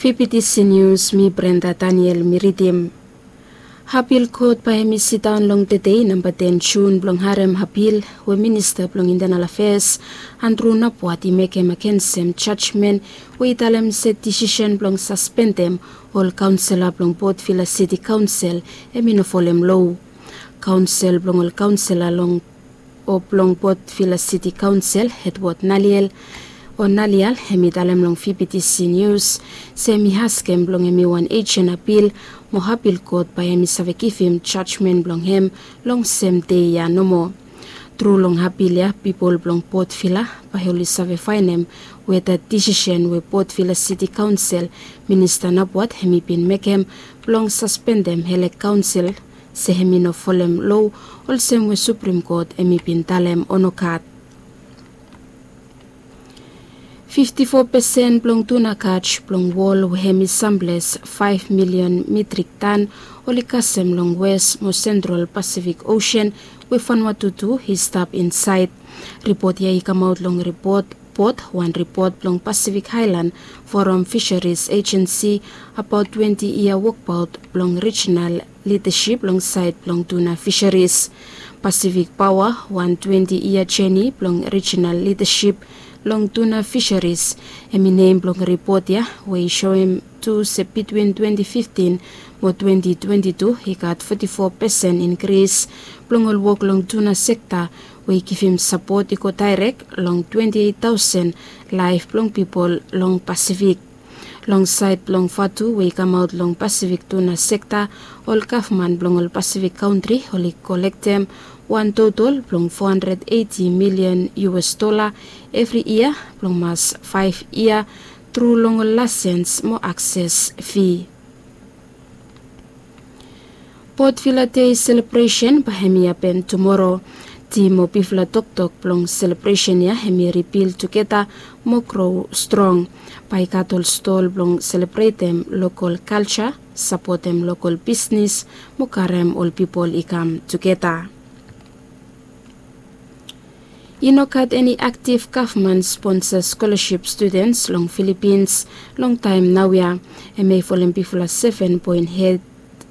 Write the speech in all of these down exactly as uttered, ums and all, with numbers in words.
P P T C News, mi Brenda Daniel mi ridim. Apil kot bae hemi sidaon long tedei namba ten Jun blong harem apil we Minista blong Internal Affairs Andrew Napuat i mekem agensem jajmen we i talem se disisen blong saspendem ol kaonsela blong Port Vila City Kaonsel hemi no folem loa. Kaonsel blong ol kaonsela long o blong Port Vila City Kaonsel Edward Naliel o Nalial hemi talem long P P T C News se hemi askem blong hemi wan ejen apil mo apil kot bae hemi save givim jajmen blong hem long sem dei ya nomo. Tru long apil ya pipol blong Port Vila bae oli save faenem weta disisen we Port Vila City Kaonsel Minista Napuat hemi bin mekem blong saspendem hele kaonsel se hemi no folem loa olsem we Suprem Kot hemi bin talem o nogat. Fifti fo pesen blong tuna kaj blong wol we hemi samples faef milion mitrik tan oli kasem long Wes mo Sentral Pasifik Osen we Vanuatu tu i stap insaed. Ripot ya i kamaot long ripot, pot wan ripot blong Pasifik Aelan Forum Fisheries Agency abaot twenti yia wokbaot blong rijinal lidasip long saed blong tuna fisheries. Pasifik Paoa wan twenti yia jeni blong rijinal lidasip long tuna fisheries hemi nem blong ripot ya we i soem tu se bitwin twenti fiftin mo twenti twenti tu i gat foti fo pesen inkris blong ol wok long tuna sekta we i givim sapot i go daerek long twenti eit taosen laef blong pipol long Pasifik. Long saed blong vatu we i kamaot long Pasifik tuna sekta, ol gavman blong ol Pasifik kantri oli kolektem wan totol blong fo handred eiti milion U S dola evri yia blong mas faef yia tru long ol laesens mo akses fi. Port Vila Dei selebresen bae hemi hapen tumoro. Tim o bigfala toktok blong selebresen ya hemi ribil tugeta mo gro strong. Bae i gat ol stol blong selebretem lokol kalja, sapotem lokol bisnis mo karem ol pipol i kam tugeta. I no gat eni aktiv gavman sponsa skolasip studens long Filipins long taem naoia. Hemia i folem bigfala seven point eight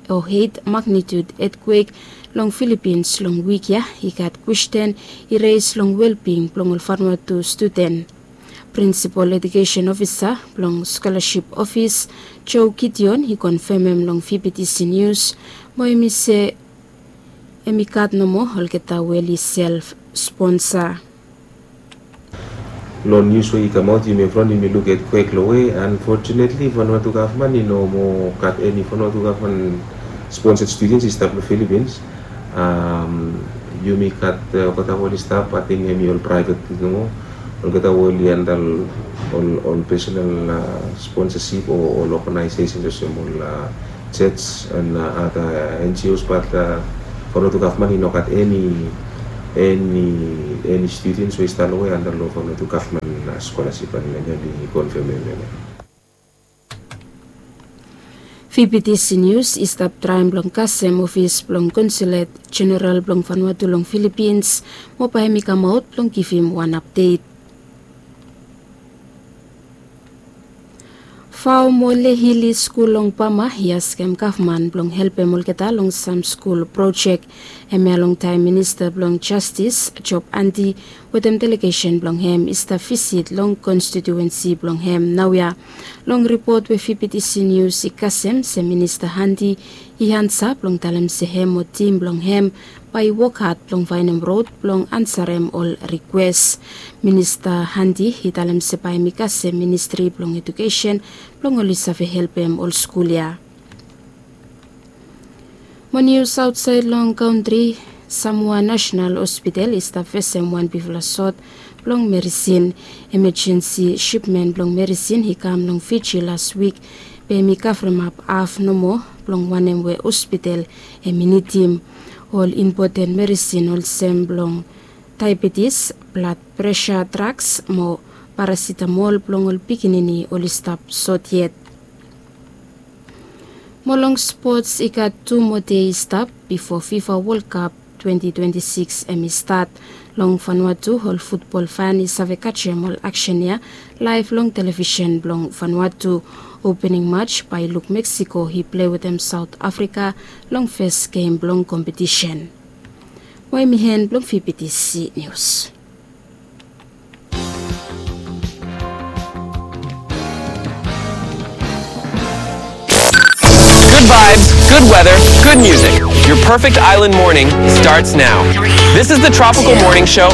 o eight magnitude etkwek long Filipins long wik ya. I gat kwesten i res long welbing blong ol Vanuatu studen. Prinsipol Ejukesen Ofisa blong Skolasip Ofis, Joe Gideon, i konfemem long V B T C Nius mo hemi se hemi gat nomo olgeta we oli self sponsa. Long nius we i kamaot yumi from yumi luk etkwek long we unfortunately Vanuatu gavman i no moa gat eni Vanuatu gavman sponsed studens i stap long Filipins. Yumi gat olgeta we oli stap ating hemi ol praevet nomo, olgeta we oli anda ol personal sponsasip o ol oganaesesens olsem ol church and other N G Os, but Vanuatu gavman i no gat eni, eni studens we i stap long we anda long Vanuatu gavman skolasip. And hemi konfemem hemia. V B T C Nius i stap traem blong kasem ofis blong Konsulet Jeneral blong Vanuatu long Filipins mo bae hemi kamaot blong givim wan apdet. Vao mo Lehili skul long Bama i askem gavman blong helpem olgeta long sam skul projek. Hemia longtaem Minista blong Jastis Job Andy wetem delegesen blong hem i stap visit long konstitiuensi blong hem naoia. Long ripot we V B T C Nius i kasem se Minista Andy i ansa blong talem se hem o tim blong hem bae i wok had blong faenem rod blong ansarem ol rikwes. Minista Andy i talem se bae hemi kasem Ministri blong Ejukesen blong oli save helpem ol skul ya. Mo nius aotsaed long kantri, Samoa Nasenal Hospital i stap fesem wan bigfala sot blong merisin. Emejensi sipmen blong merisin i kam long Fiji las wik, be hemi kavremap haf nomo blong wanem we hospital hemi nidim. Ol impoten merisin olsem blong daebetis, blad presa draks mo parasitamol blong ol pikinini oli stap sot yet. Mo long spots, i gat tu moa dei i stap bifo FIFA World Cup twenty twenty-six hemi stat. Long Vanuatu, ol futbol fan i save kajem ol aksen ya laev long televisen blong Vanuatu. Opening mats bae i luk Meksiko i plei wetem Saot Afrika long fes gem blong kompetisen. Mo hemi en blong V B T C Nius. Good vibes, good weather, good music. Your perfect island morning starts now. This is the Tropical Morning Show